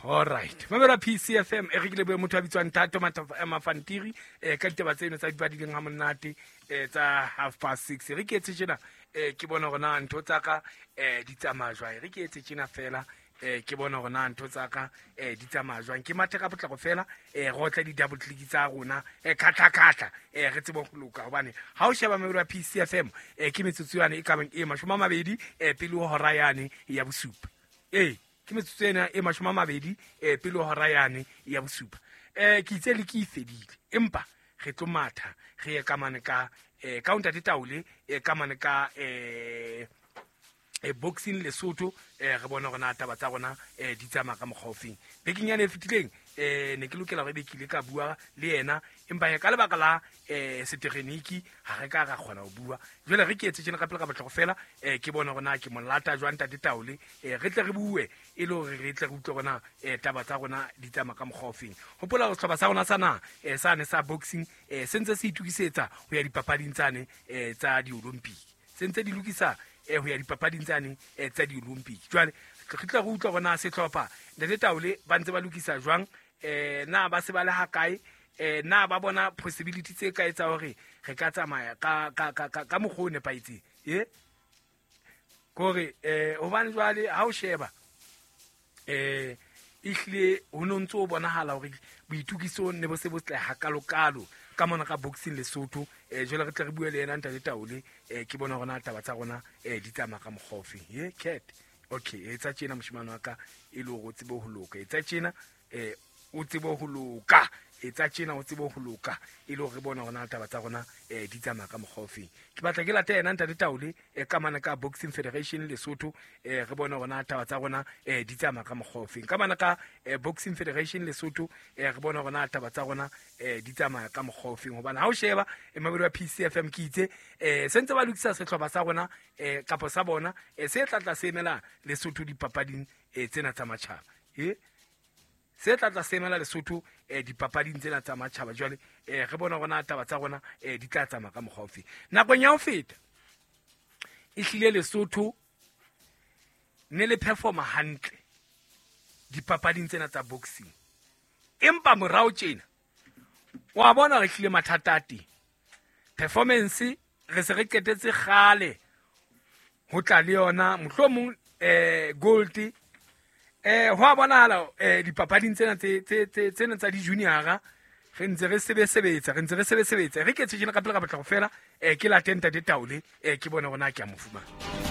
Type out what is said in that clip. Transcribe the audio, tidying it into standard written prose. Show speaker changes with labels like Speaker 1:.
Speaker 1: Alright, mamela PCFM e re ke lebohe motho a bitswang Thato Mafantiri ka ditaba tseno tsa dipadileng ha monate tsa 6:30. Re ke etse tjena, ke bone hore na ntho tsa ka di tsamaya jwang. Re ke etse tjena fela, ke bone hore na ntho tsa ka di tsamaya jwang. Ke mathe ka potlako fela, re otle di-double click tsa rona, khatla-khatla, re tsebe ho loka. Hobane ha o sheba mamelo ya PCFM, ke metsotso yane e kabang e 20 pele ho hora yane ya bosupa. Ke metsotso ena e 20 pele ho hora yane ya bosupa. Ke itse le ke e fedile, empa re tlo matha re ye ka mane ka ka ntate Taole, ka mane ka boxing Lesotho, re bone hore na taba tsa rona di tsamaya ka mokgwa ofeng. Bekeng yane e fetileng, ne ke lokela hore ebe ke ile ka bua le yena, empa he ka lebaka la setegeniki ha re ka ra kgona ho bua. Jwale re ke etse tjena ka pele ka potlako fela, ke bone hore na ke mo lata jwang ntate Taole, re tle re bue e le hore re tle re utlwe hore na taba tsa rona di tsamaya ka mokgwa ofeng. Hopola hore sehlopha sa rona sa naha, sane sa boxing, se ntse se itokisetsa ho ya dipapading tsane tsa di-Olympic. Se ntse di lokisa ho ya dipapading tsane tsa di-Olympic. Jwale re tla re utlwa hore na sehlopha ntate Taole ba ntse ba lokisa jwang, na ba se ba le ha kae, na ba bona possibility tse kae tsa hore re ka tsamaya ka mokgwa o nepahetseng. Kore hobane jwale ha o sheba, ehlile ho no ntso bonahala hore boitokiso ne bo se bo tle hakalokalo ka mona ka boxing Lesotho. Jwale re tle re bue le yena ntate Taole, ke bona hore na taba tsa rona di tsamaya ka mokgwa ofeng. Ye cat, okay, etsa tjena moshemane wa ka e le hore o tsebe ho loka. Etsa tjena, o tsebe ho loka. Etsa tjena o tsebe ho loka e le hore re bone hore na taba tsa rona di tsamaya ka mokgwa ofeng. Ke batla ke late yena ntate Taole, ka mane ka Boxing Federation Lesotho, re bone hore na taba tsa rona di tsamaya ka mokgwa ofeng. Ka mane ka Boxing Federation Lesotho, re bone hore na taba tsa rona di tsamaya ka mokgwa ofeng. Hobane ha o sheba, mabedi wa PCFM ke itse, se ntse ba lokisa sehlopha sa rona, kapa sa bona, se tla tla se emela Lesotho dipapading tsena tsa matjhaba. Se tla tla se emela Lesotho dipapading tsena tsa matjhaba. Jwale re bona hore na taba tsa rona di tla tsamaya ka mokgwa ofe. Nakong ya ho feta ehlile Lesotho ne le performa hantle dipapading tsena tsa boxing, empa morao tjena wa bona re hlile mathata a teng. Performance re se re qetetse kgale ho tla le yona mohlomong gold, ho a bonahala dipapading tsena tsena tsa di-junior-a re ntse re sebesebetsa, re ntse re sebesebetsa. Re ke tjena ka pele ka potlako fela, ke late ntate Taole, ke bone hore na ke a mo fumana.